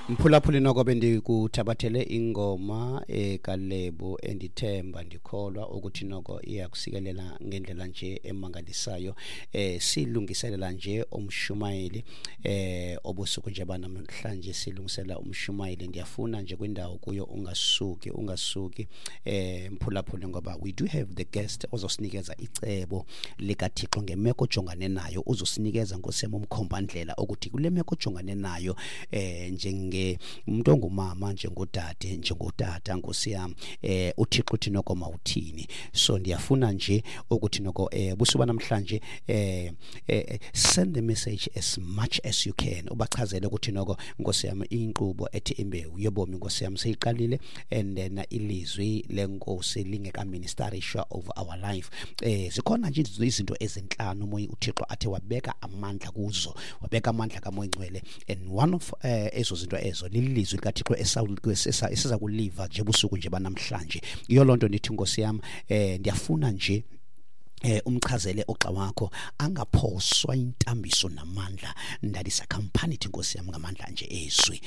Mphulaphuli, noko bendikuthabathele ingoma ekaLebo endithemba ndikholwa ukuthi noko iyakusikelela ngendlela nje emangalisayo. Silungiselela nje umshumayeli obusuku nje banamhlanje, silungisela umshumayeli. Ndiyafuna nje kwindawo kuyo ungasuki, ungasuki, mphulaphuli, ngoba we do have the guest ozosinikeza icebo likaThixo ngemeko ojongane nayo. Uzosinikeza, nkosi yam, umkhombandlela ukuthi kule meko ojongane nayo njenge umuntu ongumama, njengodade, njengotata, nkosi yam, uThixo uthi noko mawuthini. So ndiyafuna nje ukuthi noko busuku namhlanje send the message as much as you can, ubachazele ukuthi noko, nkosi yam, inkqubo ethi Imbewu Yobomi, nkosi yam, seyiqalile and then ilizwi lenkosi lingekaministerishwa over our life. Zikhona nje izinto ezintlanu umoya uThixo athe wabeka amandla kuzo, wabeka amandla kaMoya Ngcwele, and one of ezo zinto ezo lilizwi likaThixo esiza kuliva nje busuku nje banamhlanje. Iyo loo nto ndithi, nkosi yam, ndiyafuna nje umchazele ogxa wakho angaphoswa intambiso namandla ndalisa company, nkosi yami, ngamandla nje ezwi.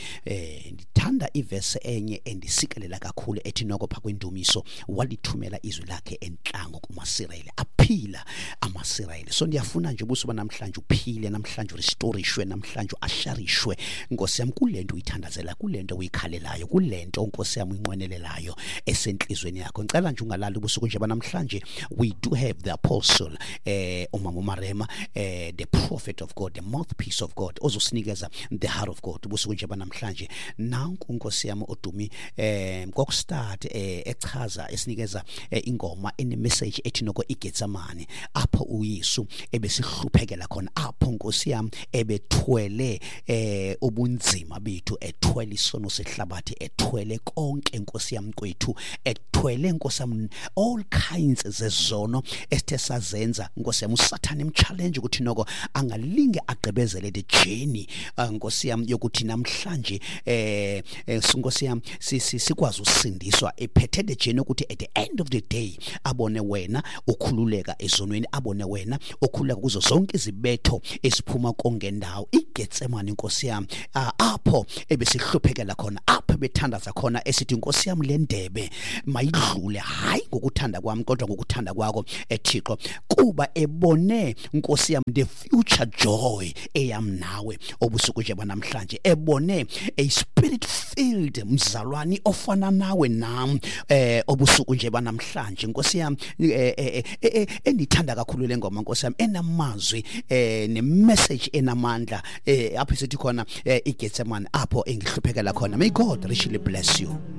Ndithanda ivese enye endisikelela kakhulu ethi noko pha kwendumiso, walithumela izwi lakhe entlango kumaSirayeli, aphila amaSirayeli. So ndiyafuna nje ubusuku namhlanje uphile, namhlanje urestorishwe, namhlanje uasharishwe, nkosi yami, kule nto uyithandazela, kule nto uyikhalelayo, kule nto, nkosi yami, uyinqwenelelayo esentlizweni yakho. Ngicela nje ungalali ubusuku nje banamhlanje. We do have the apostle, umama uMarema, the prophet of God, the mouthpiece of God, ozosinikeza the heart of God ubusuku nje banamhlanje. Nanku, nkosi yami, odumi kokustart echaza, esinikeza ingoma ene message ethi noko iGetsemane, apho uYesu ebesihluphekela khona, apho, nkosi yami, ebethwele ubunzima bethu, ethwele isono sehlabathi, ethwele konke, nkosi yami, kwethu, ethwele, nkosi yami, all kinds zezono esithe sazenza, nkosi yami. Usathane emchallenge ukuthi noko angalinge agqibezele the journey, nkosi yami, yokuthi namhlanje nkosi yami sikwazi usindiswa, ephethe the journey ukuthi at the end of the day abone wena ukhululeka ezonweni, abone wena ukhululeka kuzo zonke izibetho esiphuma kongendawo. IGetsemane, nkosi yami, apho ebesihluphekela khona, apho ebethandaza khona esithi, nkosi yami, le ndebe mayidlule, hayi ngokuthanda kwami kodwa ngokuthanda kwakho, eThixo, kuba ebone, nkosi yami, the future joy eyam nawe obusuku nje banamhlanje, ebone a spirit filled mzalwani ofana nawe nam obusuku nje banamhlanje, nkosi yami. Endithanda kakhulu le ngoma, nkosi yami, enamazwi nemessage enamandla, apho sithi khona iGetsemane, apho engihluphekela khona. May God richly bless you.